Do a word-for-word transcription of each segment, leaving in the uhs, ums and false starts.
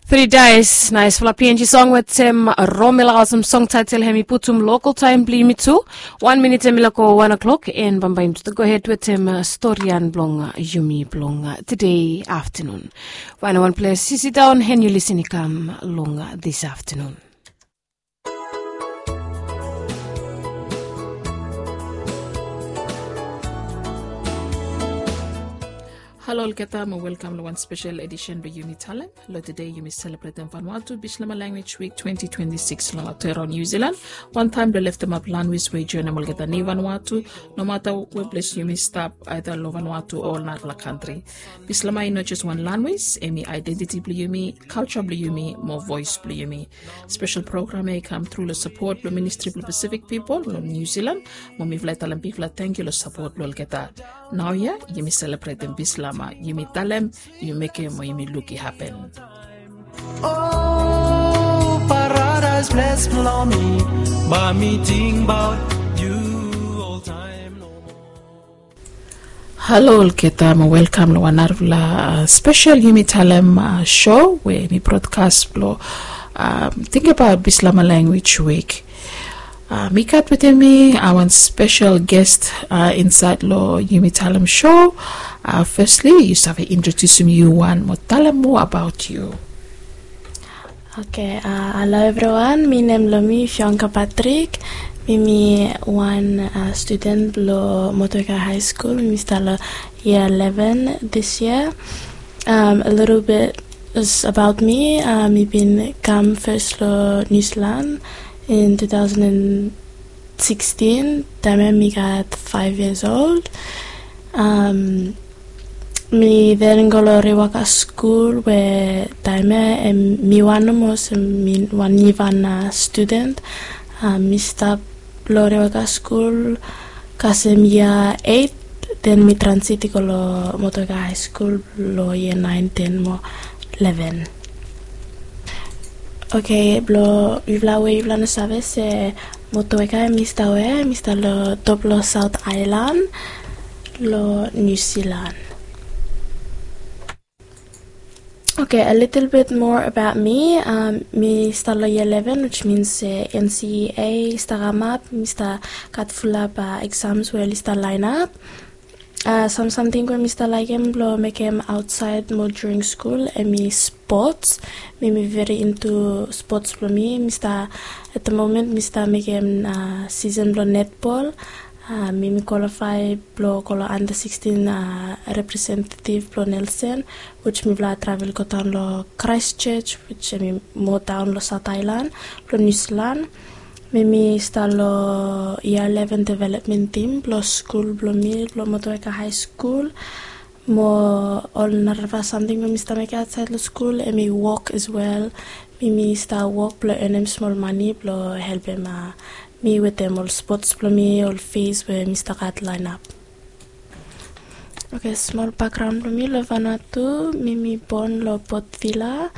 Three Dice, naesfala P N G song wetem Romela, awesome song title hemi putum local time blong yumi tu. Wan minit hemi lako wan o'clock, and bambae yumi tu go ahead wetem storian blong yumi blong tede aftanun. Wanem wan ples yu sidaon and yu lisin i kam long dis aftanun. Halo olgeta mo welkam long wan spesel edisen blong Yumi Talem. Long tede yumi selebretem Vanuatu Bislama Language Week twenty twenty-six long Aotearoa Niu Silan. Wantaem blong leftemap lanwis we i joenem olgeta nei Vanuatu, nomata we ples yumi stap, aeda long Vanuatu o ol narafala kantri. Bislama i no jes wan lanwis, hemi aedentiti blong yumi, kalja blong yumi mo voes blong yumi. Spesel program ia i kam tru long sapot blong Ministri blong Pasifik Pipol long Niu Silan, mo mifala i talem bigfala tangkiu long sapot blong olgeta. Naoia yumi selebretem Bislama, yumi talem, yumi mekem mo yumi luk i hapen. O paradaes ples blong mi, bae mi tingbaot yu oltaem nomo. Halo olgeta mo welkam long wan narafala spesel Yumi Talem show we mi brodkas blong tingbaot Bislama Language Week. Mi gat wetem mi wan spesel ges insaed long Yumi Talem show. Fesli yu save introdiusim yu wan mo talem moa abaot yu. Oke, halo evriwan, mi nem blong mi Fionka Patrik. Mi mi wan studen blong Motueka High School, mi stap long yia eleven dis yia. A litil bit abaot mi, mi bin kam fes long Niu Silan in two thousand and sixteen, taem ia mi gat five years old. Mi then go long Rewaka skul we taem ia mi wan nomo olsem mi wan nivan studen. Mi stap long Rewaka skul kasem yia eight, then mi transit i go long Motueka High School long yia nine, ten mo eleven. Oke, blong yufala we yufala no save se Motueka mi stap we mi stap long top long Saot Aelan long Niu Silan. Oke, a litil bit moa abaot mi. Mi stap long yia eleven, which means se N C E A i stap kamap, mi stap gat fulap eksams we oli stap laenap. Sam samting we mi stap laekem blong mekem aotsaed mo during skul hemi spots. Mi mi veri into spots blong mi. Mi stap, at the moment mi stap mekem season blong netbol. Mi mi kwalifae blong go long under sixteen representative blong Nelson, which mifala travel godaon long Christchurch, which hemi moa daon long Saot Aelan blong Niu Silan. Mi mi stap long yia eleven development team blong skul blong mi, blong Motueka High School. Mo ol narafala samting we mi stap mekem aotsaed long skul hemi wok as well. Mi mi stap wok blong enem smol mane blong helpem mi wetem ol spots blong mi, ol fees we mi stap gat laenap. Oke, smol bakgraon blong mi long Vanuatu. Mi mi bon long Port Vila.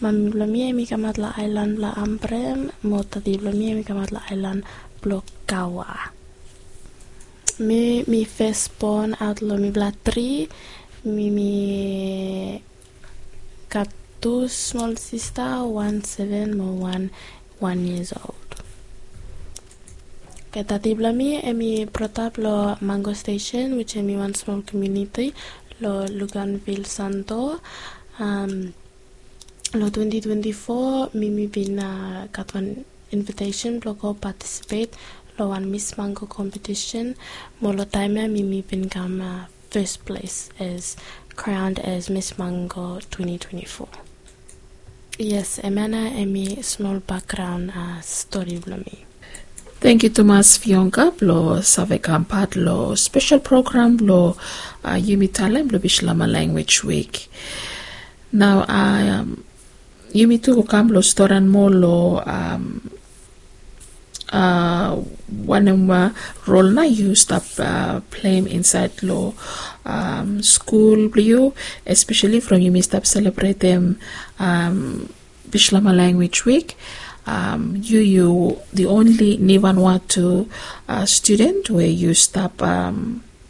Mami blong mi hemi kamaot long aelan blong Ambrym, mo dadi blong mi hemi kamaot long aelan blong Kawa. Mi mi fesbon aot long mifala tri. Mi mi gat tu smol sista, wan seven mo wan wan years old. Oke, dadi blong mi hemi brodap long Mango Station, which hemi wan smol komuniti long Luganville Santo. Long twenty twenty-four mi mi bin gat wan invitesen blong go patisipet long wan Miss Mango kompetisen. Mo long taem ia mi mi bin kam fes ples as crowned as Miss Mango twenty twenty-four. Yes, hemia nao hemi smol bakgraon stori blong mi. Tangkiu tumas Fionka blong save kam pat long spesel program blong Yumi Talem blong Bislama Language Week. Nao yumi tu go kam long storian moa long wanem rol nao yu stap pleim insaed long skul blong yu, espeseli from yumi stap selebretem Bislama Language Week. Yu yu the only Vanuatu studen we yu stap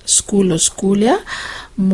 skul long skul ia. Mo